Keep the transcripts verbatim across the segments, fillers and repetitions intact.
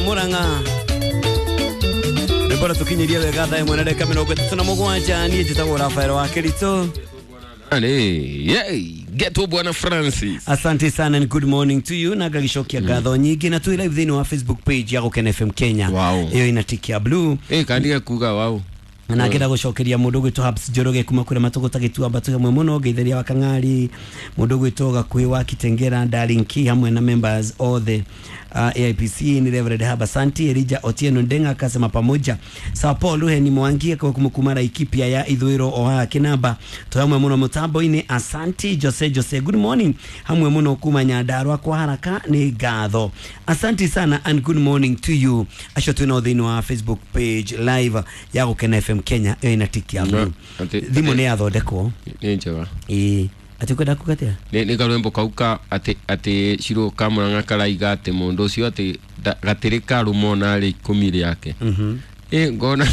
Murang'a. Rwimbo rũtũkinyĩrie wega thaa ĩmwe na ndagĩka mĩrongo ĩtatũ na mũgwanja. Niĩ njĩtagwo Rafael wa Kĩritũ. Hey, Geto Bwana Francis. Asante sana and good morning to you na ngagicokia ngatho nyingĩ na twĩ live thĩinĩ wa Facebook page ya Gũkena F M Kenya. Wow. Ĩyo ina tiki ya blue. Eh, kandiga kuga wow. Na ngenda gũcokeria mũndũ ũgwĩtwo Habs Njoroge kuma kũrĩa matũgũta gĩtuamba twĩ hamwe mũno, ngeitharia wa Kang'ari, mũndũ ũgwĩtwo Gakuhĩ wa Kitengera, Darling Key hamwe na members othe uh, A I P C ni Reverend Haba Santi, Elijah Otieno Ndenga akasema pamoja. Sao Paul Ruheni Mwangi kwa kumkumara ikipia ya Ithũĩro o haha Kinamba twĩ hamwe mũno mũtambo-inĩ. Asanti Jose Jose, good morning hamwe mũno kuma Nyandarua kwa haraka nĩ ngatho. Asanti sana and good morning to you acio twĩ nao thĩinĩ wa Facebook page live ya Gũkena F M Kenya ĩyo ina tiki ya blue. Ati- Thimũ nĩ yathondekwo. Nĩ njega. Ĩĩ atĩ ũkwenda kuga atĩa? Nĩ nĩ karwĩmbo kau ka atĩ atĩ Shiro ka Murang'a karaiga atĩ mũndũ ũcio atĩ gatĩrĩ karũma ona arĩ ikũmi rĩake. Mhm. Ĩ ngona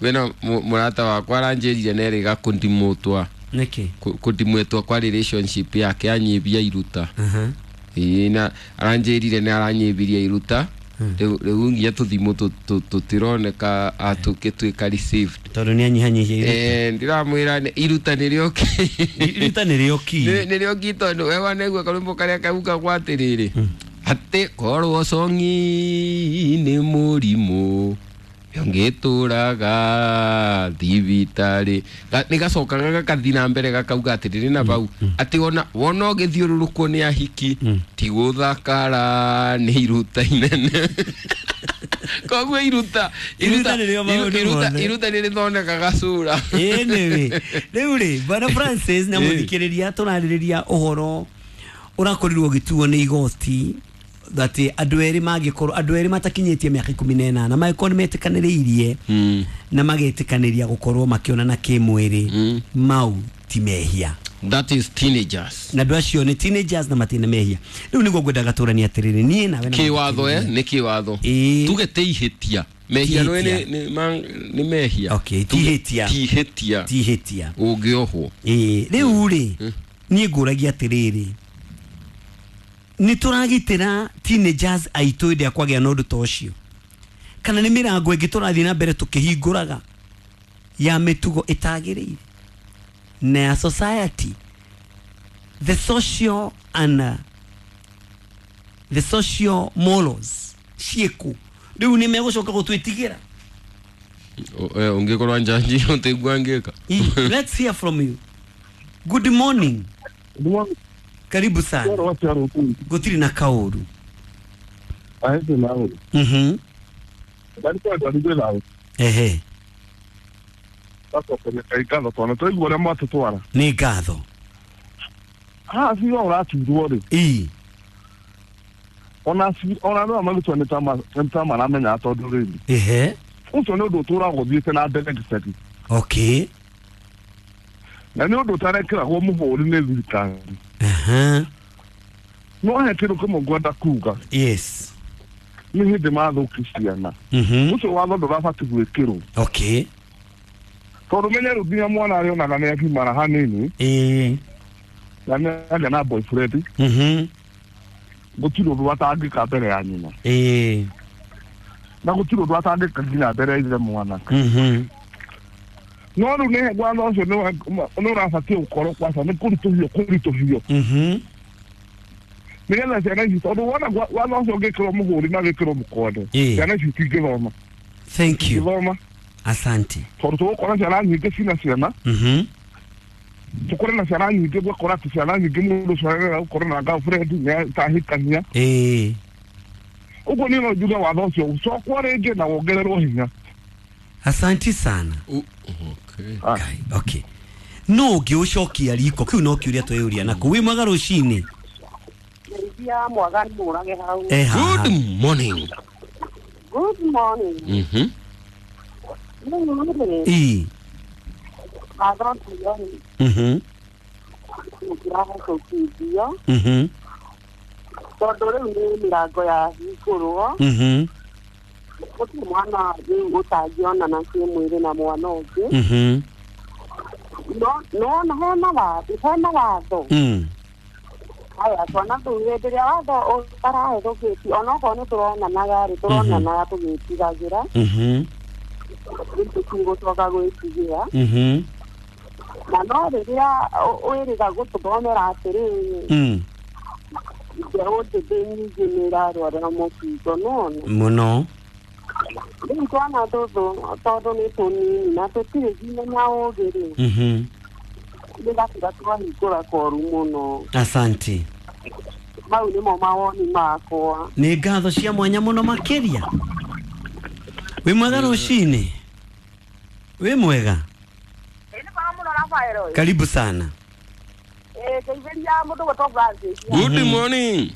kwĩna mũrata wakwa aranjĩrire nerĩga kũndimũtwa. Nĩkĩ? Kũndimwetwa kwa relationship yake anyibia iruta. Aha. Ĩ na aranjĩrire nĩ aranyibirie iruta. Rĩu rĩu nginya tũthimũ tũtironeka atũgĩtuĩka received. Tondũ nĩ anyihanyihia iruta. Eh, ndiramwĩra iruta nĩrĩo key. Iruta nĩrĩo key. Nĩrĩo key tondũ we wanaigua karwĩmbo karĩa kaugagwo atĩrĩrĩ atĩ korwo cong'i nĩ mũrimũ ũngĩtũraga thibitarĩ. Nĩ gacokaga gakathiĩ na mbere gakauga atĩrĩrĩ na bau atĩ ona wona ũgĩthiũrũrũkwo nĩ ahiki ti gũthakara nĩ iruta inene. Koguo iruta iruta nĩrĩo maũndũ mothe. Iruta nĩ rĩthondekaga cura. Ĩĩ nĩwe. Rĩu rĩ Bwana Francis na mũthikĩrĩria tũrarĩrĩria ũhoro ũrakorirwo ũgĩtuo nĩ igoti atĩ andũ erĩ mangĩkorwo andũ erĩ matakinyĩtie mĩaka ikũmi na ĩnana mangĩkorwo nĩ metĩkanĩrĩirie na magetĩkanĩria gũkorwo makĩonana kĩmwĩrĩ mau ti mehia. That is teenagers. Na andũ acio nĩ teenagers na matirĩ na mehia. Rĩu nĩguo ngwendaga tũranie atĩrĩrĩ niĩ nawe na kĩwatho eh nĩ kĩwatho. Tuge ti ihĩtia. Mehia nĩ nĩ mehia. Okay, ti ihĩtia. Ti ihĩtia. Ti ihĩtia. Ũngĩohwo. Ĩĩ rĩu rĩ niĩ ngũragia atĩrĩrĩ nĩ tũragitĩra teenagers aitũ hĩndĩ ya kwagĩa na ũndũ ta ũcio kana nĩ mĩrango ĩngĩ tũrathiĩ na mbere tũkĩhingũraga ya mĩtugo ĩtagĩrĩire na ya society, the social and uh, the social morals ciĩkũ rĩu nĩ megũcoka gũtwĩtigĩra. Ũngĩkorwo njanji ũtĩgua ngĩka. Let's hear from you. Good morning. Good morning. Karibu sana. Gũtirĩ na kaũru. Mhm. Ehe. Nĩ ngatho. Ah, si ũraturwo rĩ. Ĩĩ. Ona ona no magĩtwo nĩ ta maramenya tondũ rĩrĩ. Ehe. Ũcio nĩ ũndũ ũtũraga ũthiĩte na mbere gĩcagi. Okay. Na nĩ ũndũ ũtarekĩragwo mũhũri nĩ thirikari. Aha. No he kĩndũ kĩmwe ngwenda kuga. Yes. Nĩ hĩndĩ mathũki ciana. Mhm. Ũcio watho ndũrabatiĩ gwĩkĩrwo. Okay. Tondũ menye rĩu nginya mwana arĩonaga nĩ agimara hanini. Ĩĩ. Na nĩ agĩa na boyfriend. Mhm. Gũtirĩ ũndũ atangĩka mbere ya nyina. Ĩĩ. Na gũtirĩ ũndũ atangĩka nginya mbere ya ithe mwana. Mhm. No rĩu nĩ watho ũcio nĩ ũrabatiĩ gũkorwo kwaca nĩ kũritũhio kũritũhio. Mhm. Nĩgetha ciana ici tondũ wona watho ũcio ũngĩkĩrwo mũhũri na wĩkĩrwo mũkonde ciana ici itingĩthoma. Thank you. Itingĩthoma. Asante. Tondũ tũgũkora ciana nyingĩ cina ciana. Mhm. Tũkore na ciana nyingĩ gwakora atĩ ciana nyingĩ mũndũ ũcio arenda gũkorwo na girlfriend nĩ atahikania. Ĩĩ. Ũguo niĩ no njuge watho ũcio ũcokwo rĩngĩ na wongererwo hinya. Asante sana. Okay. Okay. Okay. No ũngĩũcokia riko kĩu no kĩũria twĩyũria naku wĩ mwega rũcinĩ. Good morning. Good morning. Mhm. Ĩĩ. Mhm. Mhm. Tondũ rĩu nĩ mĩrango yahingũrwo. Mhm. Gũtirĩ mwana rĩu ũtangĩonana kĩmwĩrĩ na mwana ũngĩ. Mhm. No no hena watho hena watho. Mm. Aya twana tũu hĩndĩ ĩrĩa watho ũtarahĩtũkĩtio onokorwo nĩ tũronanaga rĩ tũronanaga tũgĩtigagĩra Mhm. rĩu tũtigũcoka gwĩtigĩra Mhm. na no rĩrĩa wĩrĩga gũtũthomera atĩrĩrĩ Mm. mbeũ njĩthĩ nyingĩ nĩ ĩrarwara mũkingo nĩwona Mũno. rĩu twana tũtũ tondũ nĩ tũnini na tũtirĩ nginya na ũgĩ rĩ Mhm. nĩgatiga twahingũra koru mũno Asante. mau nĩmo mawoni makwa Nĩ ngatho cia mwanya mũno makĩria. Wĩ mwega rũcinĩ? Wĩ mwega? Karibu sana. Eh ngeithĩria mũndũ gwĩtwo Francis Good morning.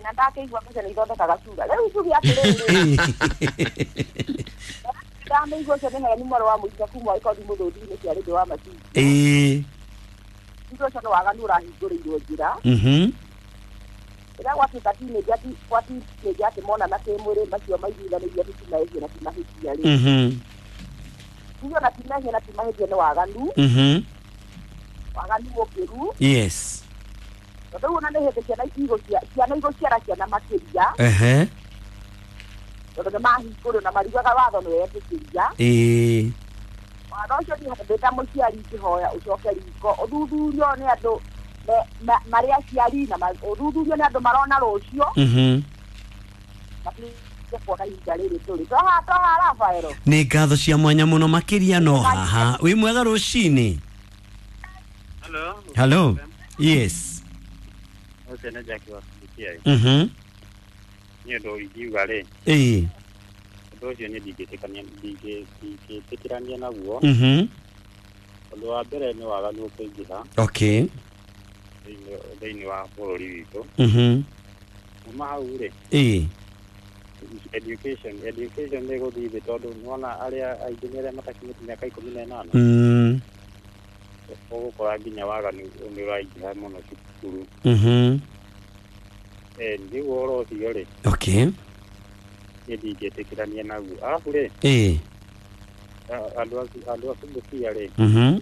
na ndakĩigua mbeca nĩ ithondekaga cura rĩu njuge atĩrĩrĩ ndamĩigua ũcio nĩ Helen mwarĩ wa mũico kuma ikondi mũthũndi-inĩ cia rĩndĩ wa macini Ĩĩ. Njuge ũcio nĩ waganu ũrahingũrĩirwo njĩra Mhm. rĩrĩa gwatuĩka teenager ti gwa teenager atĩ monana kĩmwĩrĩ macio maiguithanĩirie atĩ ti mahĩtia na ti mahĩtia rĩ Mhm. njuge ona ti mehia na ti mahĩtia nĩ waganu Mhm. waganu mũkĩru Yes. tondũ rĩu ona nĩ hĩndĩ ciana igũcia ciana igũciara ciana makĩria Ehe. tondũ nĩ mahingũrwo na mariugaga watho nĩ wetĩkĩria Ĩĩ. watho ũcio niĩ ndĩ ta mũciari ingĩhoya ũcoke riko ũthuthurio nĩ andũ me- ma- marĩ aciari na ma- ũthuthurio nĩ andũ marona rũciũ Mhm. matige kuona ihinda rĩrĩ tũrĩ twaha twaha Rafaelo Nĩ ngatho cia mwanya mũno makĩria no haha. Wĩ mwega rũcinĩ? Hello. Hello. Yes. Ũcio nĩ Jackie wa Kilifi. Mhm. Niĩ ũndũ ingiuga rĩ, Ĩĩ. ũndũ ũcio niĩ ndingĩtĩkania ndingĩtĩkĩrania naguo. Mhm. Ũndũ wa mbere nĩ waganu ũkũingĩha Okay. thĩinĩ thĩinĩ wa bũrũri witũ. Mhm. Kuma hau rĩ, Ĩĩ. education education nĩ ĩgũthiĩ thĩ tondũ nĩwona arĩa aingĩ nĩ arĩa matakinyĩtie mĩaka ikũmi na ĩnana. Mm. Ũgũkora nginya waganu nĩ ũraingĩha mũno cukuru. Mhm. Eh, rĩu ũhoro ũcio rĩ, Okay. niĩ ndingĩtĩkĩrania naguo. Arabu rĩ, Ĩĩ. a- andũ a andũ a Subukia rĩ, Mhm.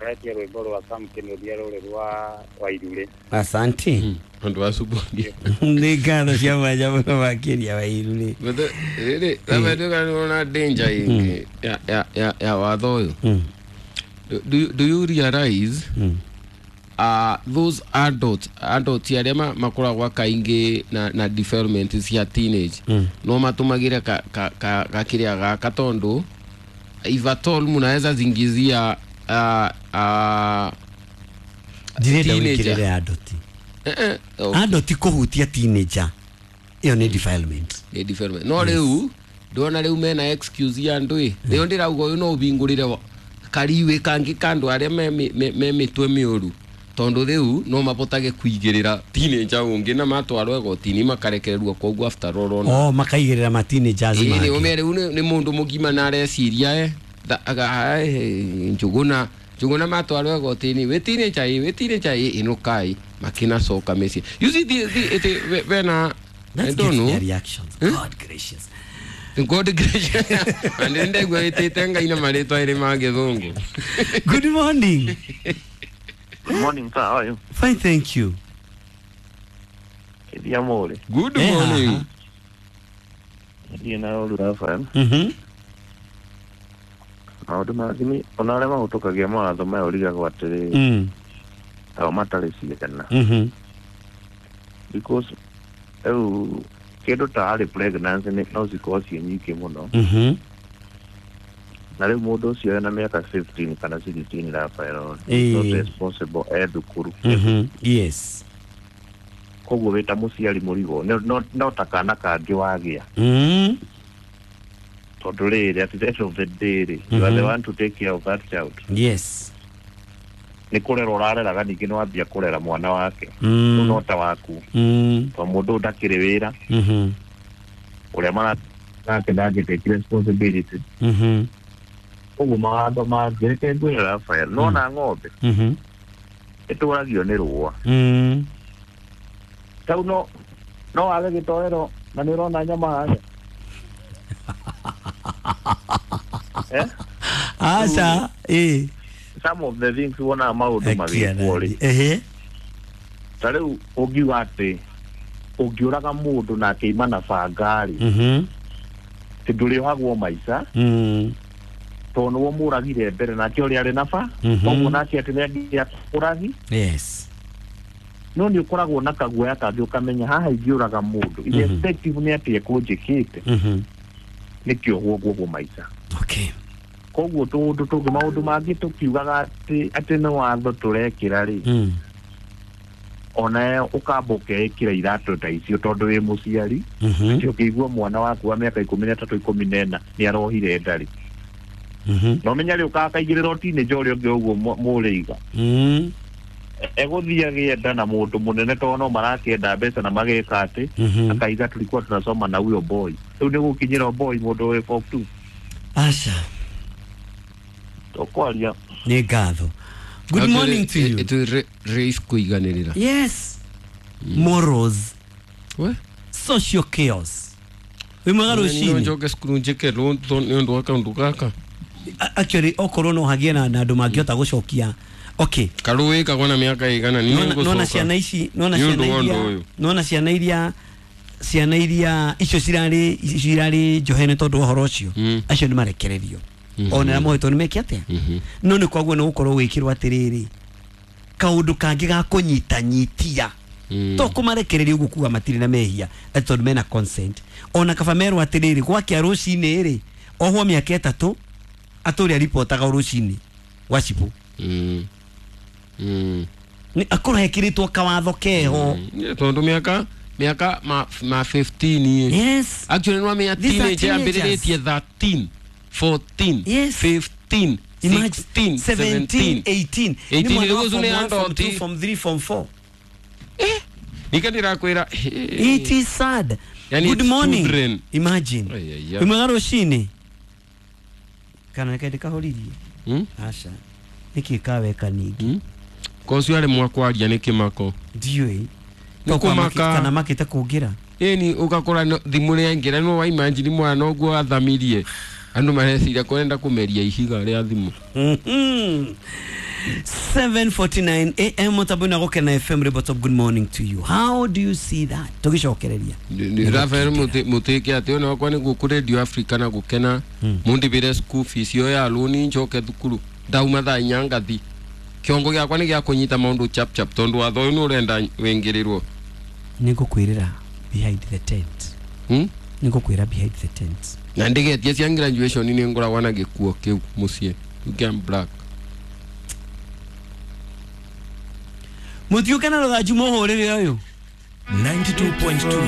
aretia rwĩmbo rwa Sam Kĩnuthia rũrĩ rwa Wairurĩ. Asante. Andũ a Subukia. Nĩ ngatho cia mwanya mũno makĩria Wairurĩ. But rĩrĩ labda nĩwona danger ĩngĩ ya ya ya ya watho ũyũ. Mm. Do, do you realize Mm. uh, those adults adults arĩa ma- makoragwo kaingĩ na, na development cia teenage Mm. no matũmagĩre ka, ka, ka, gakĩrĩa gaka tondũ if at all munaweza zingizia uh, uh, Ndirenda Teenager. wĩkĩrĩre adult. eh, eh, okay. Adult kũhutia teenager. Ĩyo nĩ defilement. Nĩ development no rĩu ndona rĩu mena excuse ya andũ ĩ rĩu ndĩrauga ũyũ no ũbingũrĩre wa- kariwĩ kangĩ ka andũ arĩa me, me, me, me mĩtwe mĩũru tondũ rĩu no mabotage kũigĩrĩra teenager ũngĩ na matwarwo igoti-inĩ makarekererwo koguo after all ona Oh, makaigĩrĩra ma teenagers ĩĩ nĩ mangĩ. ũme rĩu nĩ nĩ mũndũ mũgima na areciria e tha- aga- eh, njũgũna njũgũna matwarwo igoti-inĩ wĩ teenager ĩ wĩ teenager ĩ ĩnũkai makĩnacoka mĩciĩ you see the, the, the, vena I Let's don't get know their reactions. God gracious. God gracious. And ndegwa ĩtĩte Ngai na marĩtwa ĩrĩ ma gĩthũngũ. Good morning. Good morning, sir. How are you? Fine, thank you. Kedia Mori. Good Eh, morning. haha. Ndiĩ na ũru Rafael. Mhm. Maũndũ mangĩ nĩ ona arĩa mahĩtũkagia mawatho maya ũrigagwo atĩrĩ Mm. tao matarĩ ciana Mhm. because rĩu kĩndũ ta early pregnancy nĩ- no cikorwo ciĩ nyingĩ mũno Mhm. na rĩu mũndũ ũcio ena mĩaka fifteen kana sixteen Rafael Ĩĩ. not responsible e thukuru Mhm. Yes. koguo wĩ ta mũciari mũrigo no- no- no ta kana kangĩ wagĩa Mm. tondũ rĩrĩ at the end of the day rĩ you are the Mhm. one to take care of that child Yes. nĩ kũrera ũrareraga ningĩ nĩ wambia kũrera mwana wake Mm. rĩu no ta waku Mm. tondũ mũndũ ũyũ ndakĩrĩ wĩra Mhm. ũrĩa mara nake ndangĩ take responsibility Mhm. koguo mawatho mangĩ reke ngwĩre Rafael nona ng'ombe Mhm. ĩtũragio nĩ rũa Mm. tau no no wage gĩtoero na nĩ ũrona nyama harĩa eh? Aca. Eh. Some of the things wonaga maũndũ magĩkwo rĩ Ehe. Ta rĩu ũngiuga atĩ ũngĩũraga mũndũ na akĩima na banga rĩ, Mhm. atĩ ndũrĩohagwo maica Mm. tondũ nĩwe mũragire mbere nake ũrĩa arĩ na ba Mhm. koguo nake atĩ nĩangĩakũragi. Yes. No nĩ ũkoragwo na kaguoya kangĩ ũkamenya haha ingĩũraga mũndũ irrespective nĩ atĩ ekũnjĩkĩte, Mhm. nĩkĩohwo nguohwo maica. Okay. Koguo tũũndũ tũngĩ maũndũ mangĩ tũkiugaga atĩ atĩ nĩ watho tũrekĩra rĩ, Mm. ona ũkamba ũkeĩkĩra iratũ ta icio tondũ wĩ mũciari, Mhm. atĩ ũkĩigua mwana waku wa mĩaka ikũmi na ĩtatũ ikũmi na ĩna nĩ arohire nda rĩ, Mhm. na ũmenya rĩ ũkakaigĩrĩra teenager ũrĩa ũngĩ ũguo mũrĩiga Mm. egũthiĩ agĩe nda na mũndũ mũnene tondũ no marakĩenda mbeca na mageka atĩ Mhm. akaiga tulikuwa tunasoma na huyo boy, rĩu nĩ gũkinyĩra boy mũndũ wĩ form two. Asha. Tũkwaria. Nĩ ngatho. Good morning to you. It raise kũiganĩrĩra. Yes. Morals. We? Social chaos. Wĩ mwega No rũcinĩ. njoke cukuru njĩke nĩ ũndũ wa kaũndũ gaka. A- Actually okorwo no hagie na na andũ mangĩhota gũcokia. Okay. Karũĩ kagwo na mĩaka ĩigana nĩ Nona nona ngũcoka. ciana ici, nona Nĩ ciana ũndũ wa iria, ũndũ ũyũ. nona ciana iria ciana iria icio cirarĩ icio cirarĩ njohe nĩ tondũ wa ũhoro ũcio, Mm. acio nĩ marekererio, Mhm. ona arĩa mohetwo nĩ meke atĩa, Mhm. no nĩ kwaguo nĩ gũkorwo gwĩkĩrwo atĩrĩrĩ kaũndũ kangĩ ga kũnyitanyitia, Mm. to kũmarekereria ũguo kuga matirĩ na mehia atĩ tondũ mena consent, ona kaba merwo atĩrĩrĩ gwakĩa rũcinĩ rĩ ohwo mĩaka ĩtatũ atũrĩa ripotaga o rũcinĩ gwa cibũ. Mm. Mm. Nĩ akorwo hekĩrĩtwo kawatho keho. Mm. Tondũ mĩaka mĩaka ma ma fifteen ĩ. Yes. Actually no mĩa These are teenager teenagers. ambĩrĩrĩtie thirteen, fourteen, Yes. fifteen, Imagine, sixteen, seventeen, seventeen. eighteen. eighteen Nĩ mwana wa rĩu form nĩ one, form adult. two, form three, form four. Nika ndĩrakwĩra. It is sad. Yani Good it's morning. children. Imagine. Ai, ai, ai. Wĩ mwega rũcinĩ. Kana nĩ ndĩkahoririe. Mm? Aca. Nĩkĩ kaweka ningĩ? Mm? Ko ũcio arĩ mwakwaria nĩ kĩmako. Ndiũĩ. Nĩ kũmaka. Kana makĩte kũngĩra. Ĩni ũgakora no- thimũ rĩaingĩra no waimagine mwana ũguo athamirie andũ mareciria kũrenda kũmeria ihiga rĩa thimũ. Mhm. seven forty-nine A M mũtambo na Gũkena F M Ribotop. Good morning to you. How do you see that? Tũgĩcokereria. Rafael mũtĩke atĩ ona wakwa nĩ gũkũ Radio Africa na gũkena mũndĩbĩre school fees ĩyo ya loan njoke thukuru ndauma thaa inya ngathi kĩongo gĩakwa nĩ gĩa kũnyita maũndũ chap chap tondũ watho ũyũ nĩ ũrenda wĩingĩrĩrwo. Nĩ ngũkwĩrĩra behind the tent. Hmm? Nĩ ngũkwĩra behind the tent. Na ndĩgetie cia graduation nĩ ngoragwo na gĩkuo kĩu mũciĩ kĩa black. Mũtiũke na rũthanju mũhũrĩre ũyũ. ninety-two point two.